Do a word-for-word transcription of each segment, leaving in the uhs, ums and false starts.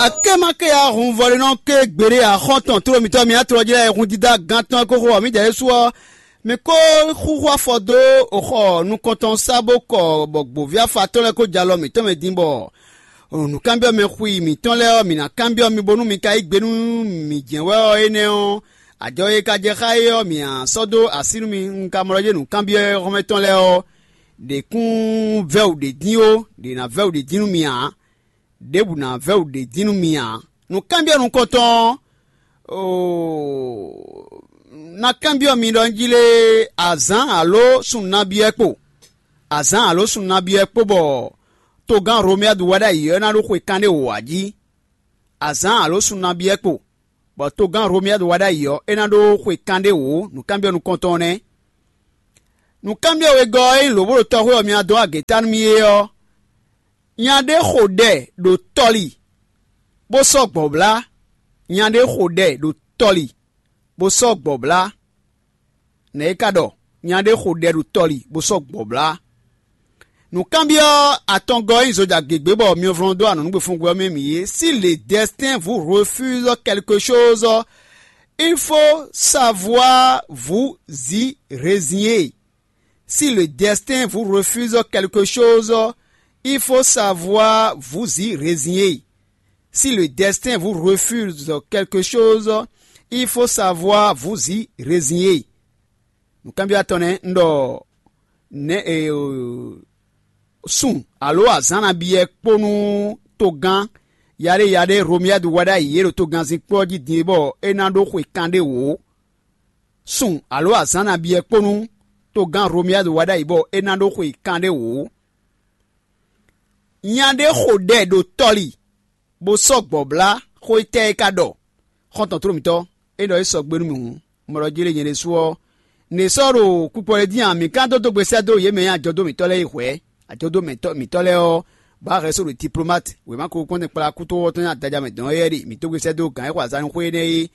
Akémakéya hun vɔlinɔ ké gbeɖé axɔ́ntɔn tló mitɔ́ mi atlɔjlɛ́ hun dídá gán tɔn e kó xo ɔ́, mǐdɛɛ ɖésú ɔ́, mi kó xúxú afɔ dó xɔ nukɔntɔn sá bó kɔ bɔ gbǒví afatɔ́ lɛ́ɛ kó jɛ alɔ mǐtɔn mɛ din bɔ nǔkanbyɔ́ mɛ xwi mǐtɔn lɛ́ɛ ɔ́, mǐ ná kanbyɔ́ mi bónú mi ka yí gbe nú mǐ jɛ́n wɛ ɔ́, énɛ́ ɔ́, ajɔ e ka jɛ xá é ɔ́, mǐ ná sɔ́ dó así nú mi. Un ka mlɔ́ yé nǔkanbyɔ́ hɔnmɛ tɔn lɛ́ɛ ɔ́, ɖě kún vɛ́ wǔ ɖě dín ó, ɖě ná vɛ́ wǔ ɖě dín nú mi ǎ. Ɖěbǔ ná vɛ́ wǔ ɖě dín nú mi ǎ. Nǔkanbyɔ́ nukɔntɔn ɔ́, oo, ná kanbyɔ́ mi ɖɔ un jí lé azǎn alǒ sun nabí wɛ kpo. Azǎn alǒ sun nabí wɛ kpó bɔ togán Romiyadu wá ɖ'ayǐ ɔ́ ná ɖó xwe kanɖé wǒ ǎ jí. Azǎn alǒ sun nabí wɛ kpo, bɔ togán Romiyadu wá ɖ'ayǐ ɔ́, é ná ɖó xwe kanɖé wǒ. Nǔkanbyɔ́ nukɔntɔn ɔ́ nɛ́. Nǔkanbyɔ́ wegɔ́ ɔ́, ényí lǒ bó ɖo tɔxwé ɔ́ mɛ ná dó agě ta nú mì é ɔ́, nya ɖé xo ɖɛ ɖo tɔli, bó sɔ́ gbɔ̌blá. Nya ɖé xo ɖɛ ɖo tɔli, bó sɔ́ gbɔ̌blá. Nɛ̌ é ka ɖɔ? Nya ɖé xo ɖɛ ɖo tɔli, bó sɔ́ gbɔ̌blá. Nǔkanbyɔ́ atɔngɔ́ ɔ́ nyí zoja gěgbé bɔ myɔvlɔ́n dó anɔ̌nugbe fɔngbe ɔ́ mɛ mǐ é. Si le destin vous refuse quelque chose, il faut savoir vous y résigner. Si le destin vous refuse quelque chose, il faut savoir vous y résigner. Si le destin vous refuse quelque chose, il faut savoir vous y résigner. Nǔkanbyɔ́ atɔn nɛ́ un ɖɔ nɛ̌ e sun alǒ azǎn nabí wɛ kpó nú togán yaɖé yaɖé Romiyadu wá ɖ'ayǐ e ɖo togannzin kpó ɔ́ jí din é bɔ é ná ɖó xwe kanɖé wǒ. Sun alǒ azǎn nabí wɛ kpó nú togán Romiyadu wá ɖ'ayǐ bɔ é ná ɖó xwe kanɖé wǒ. Nya ɖé xo ɖɛ ɖo tɔli, bó sɔ́ gbɔ̌blá. Xó étɛ́ é ka ɖɔ? Xɔ́ntɔn tló mǐtɔn, é ɖɔ é sɔgbe nú mì hǔn, un ɖɔ jí lé nyɛ ɖésú ɔ́, ně sɔ́ ɖo kpukpɔ ɖé dín a? Mǐ ka dó dó gbe sɛ́ dó yě mɛ nyi ajɔdó mǐtɔn lɛ́ɛ yi hwɛ̌. Ajɔdó mǐtɔn lɛ́ɛ ɔ́, bǎ hɛ̌ só ɖo diplomate wěma ko kpɔ́n kpla kútówɔ́ tɔn nyi adaja mɛ dɔn éyɛ́ ɖe. Mǐ dó gbe sɛ́ dó gǎn e xo azǎn xwé énɛ́ é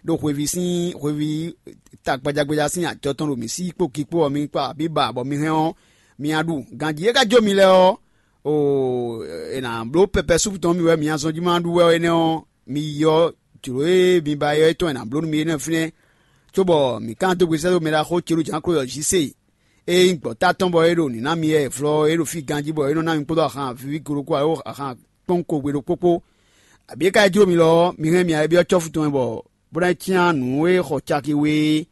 ɖo hweví sín hweví tagbajagbaja sín ajɔ tɔn ɖo mǐ sí kpó ki kpó ɔ́, mi kpa abǐ ba bɔ mi hɛn ɔ́, mi nya ɖu. Ganjí e ka jó mi lɛ́ɛ ɔ́, oo, è nǎ bló pɛpɛ súpu tɔn mì wɛ mi nya zɔn jí ma ɖu wɛ énɛ́ ɔ́, mi yi ɔ́, jlǒ e mi ba é ɔ́ tɔn è nǎ bló nú mi énɛ́ fínɛ́, cóbɔ mǐ ka ná dó gbe sɛ́ dó mɛɖaxó Celú Jǎnklódɔ Jisée e nyí gbɔ̌ta tɔn bɔ é ɖo nǐ ná mi wɛ vlɔ́ é ɖo fí ganjí bɔ é nɔ ná mi kpódó ahan vǐví golokó alo ahan kpɔ́nwun kogbe ɖokpó kpó. Abǐ é ka yi jló mi lɔ ɔ́, mi hɛn mì ayɛbyɔ́ cɔ́fu tɔn mɛ bɔ bó ná cyán nǔ e xɔ caki we é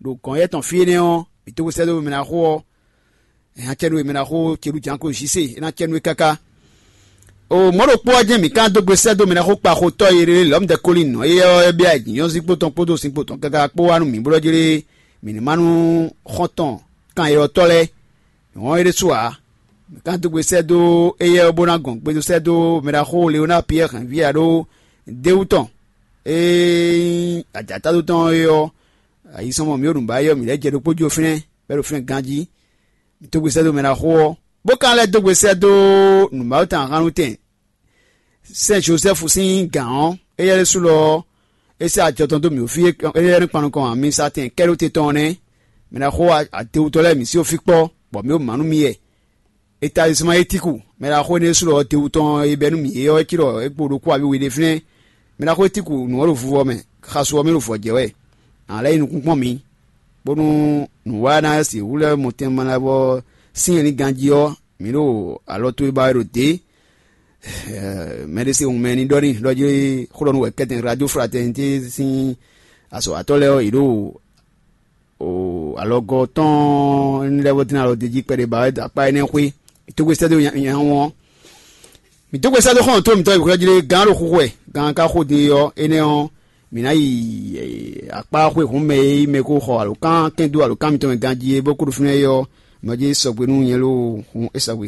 ɖo gɔ̌n yɛ́ tɔn fí énɛ́ ɔ́, mǐ tó xwe sɛ́ dó mɛ ná xo ɔ́, é ná cɛ nú we mɛ ná xo Celú Jǎnko Zise, é ná cɛ nú we káká. O mɔ̌ ɖokpó ɔ́ jɛ́n mǐ ka dó gbe sɛ́ dó mɛ ná xo kpaxotɔ́ e ɖe Lɔ̌mudɛ́ Kolínu ɔ́, éyɛ́ ɔ́ é byɔ́ ayǐjínjɔ́n sínkpo tɔn kpódó sínkpo tɔn káká kpó wá nú mǐ bó ɖɔ jlé mǐ ní má nú xɔ́ntɔn kan e ɔ́ tɔ́ lɛ́ɛ. Mǐ wɔn é ɖésú ǎ. Mǐ ka dó gbe sɛ́ dó éyɛ́ ɔ́ bó ná gɔn gbe dó sɛ́ dó mɛ ná xo Leonáa Piyɛ́ɛ hɛ̌nví ǎ ɖó déwú tɔn e nyí ajǎtádó tɔn é ɔ́, ayisɔnmɔ mǐ ɖo nǔ ba é ɔ́, mǐ lɛ́ jɛ ɖokpó jó fínɛ́, bɔ é ɖo fínɛ́ ganjí. Mǐ dó gbe sɛ́ dó mɛ ná xo ɔ́, bó ka lɛ́ dó gbe sɛ́ dó nǔmawutɛn ahan nú tɛn Sɛn Jozɛ́fu sín gǎn ɔ́, éyɛ́ ɖésú lɔ ɔ́, é sɛ́ ajɔ tɔn dó mǐ fí éyɛ́ nú kpan nukɔn amisatɛn kɛ́ɖóte tɔn ɔ́ nɛ́. Mɛ ná xo adewutɔ́ lɛ́ɛ mǐ sí fí kpɔ́, bɔ mǐ ɖo mǎ nú mi yɛ. Etazisma Etíku, mɛ ná xo énɛ́ ɖésú lɔ ɔ́, dewu tɔn e bɛ́ nú mǐ é ɔ́, é cí ɖɔ é kpo ɖokpó abǐ we ɖe fínɛ́. Mɛ ná xo Etíku nǔ ɔ́ ɖo vuvɔ mɛ, xasu ɔ́ mɛ ɖo vɔ̌ jɛ wɛ. A lɛ́ yi nukúnkpɔ́n mǐ, bónú nǔwanú e ná sixú lɛ́ mɔ tɛnmɛ lɛ́ɛ bɔ sín ɛnǐ ganjí ɔ́, mǐ ɖo alɔ towe ba wɛ ɖo dě. Mɛ ɖé se hun mɛ ní ɖɔ ní ɖɔ jí xó ɖɔ nú wɛ kɛ́tɛn Radio Fraternité sín azɔ̌watɔ́ lɛ́ɛ ɔ́, yě ɖo alɔgɔ́ tɔn lɛ́ɛ bó dín alɔ d'é jí kpɛɖé ba wɛ dó akpá énɛ́ xwé. Mǐ tó gbe sɛ́ dó nya nya wɔn ɔ́. Mǐ tó gbe sɛ́ dó xɔ́ntɔn mǐtɔn e xwlɛ́ jí lé gǎn ɖo xúxú wɛ, gǎn ka xó din é ɔ́, énɛ́ ɔ́, mǐ ná yi akpá xwé hǔn mɛ e nyí mɛ e ko xɔ alǒkan kɛn dó alǒkan mitɔn mɛ ganjí é bó kó ɖo fínɛ́ é ɔ́, mɛ jí sɔgbe nú nyɛ lóo hun é sɔgbe.